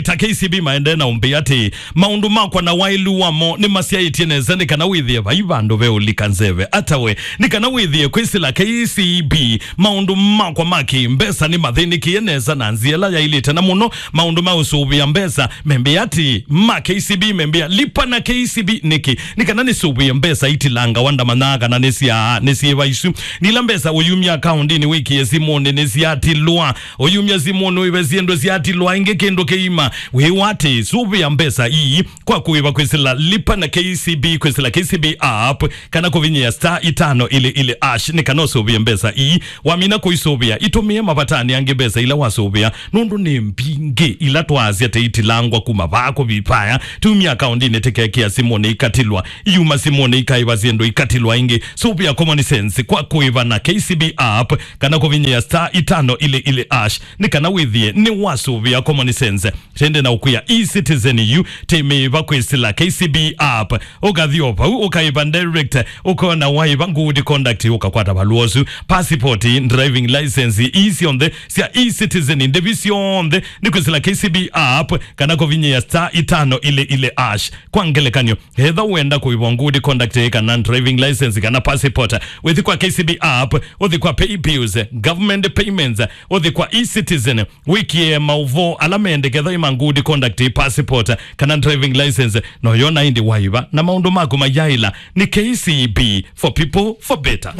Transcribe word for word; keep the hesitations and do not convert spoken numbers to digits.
ta K C B maendee na ũmbĩa atĩ, maũndũ makwa na waĩlu wamo nĩmasyaĩtye nesa nĩ kana wĩthĩe vai vandũ ve ũlika nzeve. Ata we, nĩ kana wĩthĩe kwĩsĩla K C B, maũndũ makwa ma kĩ-mbesa nĩmathĩnĩkĩe nesa na nzĩa ĩla yaĩlĩte, na mũno maũndũ ma ũsũvĩa mbesa. Membĩa atĩ ma K C B, membĩa, lipa na K C B nĩkĩ? Nĩ kana nĩsũvĩe mbesa itilangawa, ndamanyaa kana nĩ sya, nĩ syĩva isu. Nĩ ila mbesa ũyumya akaũndinĩ wĩkĩe simũnĩ nĩsyatilwa. Ũyumya simũnĩ wĩve syĩndũ syatilwa, ĩngĩ kĩndũ kĩima. Wĩw'a atĩ sũvĩa mbesa ii kwa kũĩva kwĩsĩla lipa na K C B, kwĩsĩla K C B app, kana kũvinyĩa star itano ili ili hash, nĩ kana ũsũvĩe mbesa ii. Wamina kũisũvĩa, itũmĩe mavatanĩ angĩ mbesa ila wasũvĩa, nũndũ nĩ mbingĩ ila twaasya teitilangwa kuma vaa kũvipaya. Tumia akaũndinĩ tĩkekĩa simũnĩ ikatilwa, iuma simũnĩ ikaĩva syĩndũ ikatilwa ĩngĩ. Sũvĩa Common Sense kwa kũĩva na K C B app, kana kũvinyĩa star itano ili ili hash, nĩ kana wĩthĩe nĩwasũvĩa Common Sense. Tende na ũkwĩa e-Citizen yu tĩmĩĩva kwĩsĩla K C B app. Ũkathi o vau, ũkaĩva direct, ũkona waĩva good conduct, ũkakwata valũa ũsu. Passport, driving license, ii syonthe sya e-Citizen, ndĩvi syonthe nĩ kwĩsĩla K C B app, kana kũvinyĩa star itano ili ili hash. Kwa ngelekany'o, etha wenda kũĩvwa good conduct kana driving license kana passport, wĩthi kwa K C B app, ũthi kwa pay bills, government payments, ũthi kwa e-Citizen, wĩkĩe maũvoo ala mendekethwa ma good conduct, passport kana driving license, na ũyona ĩndĩ waĩva na maũndũ maku mayaĩla. Nĩ K C B, for people, for better.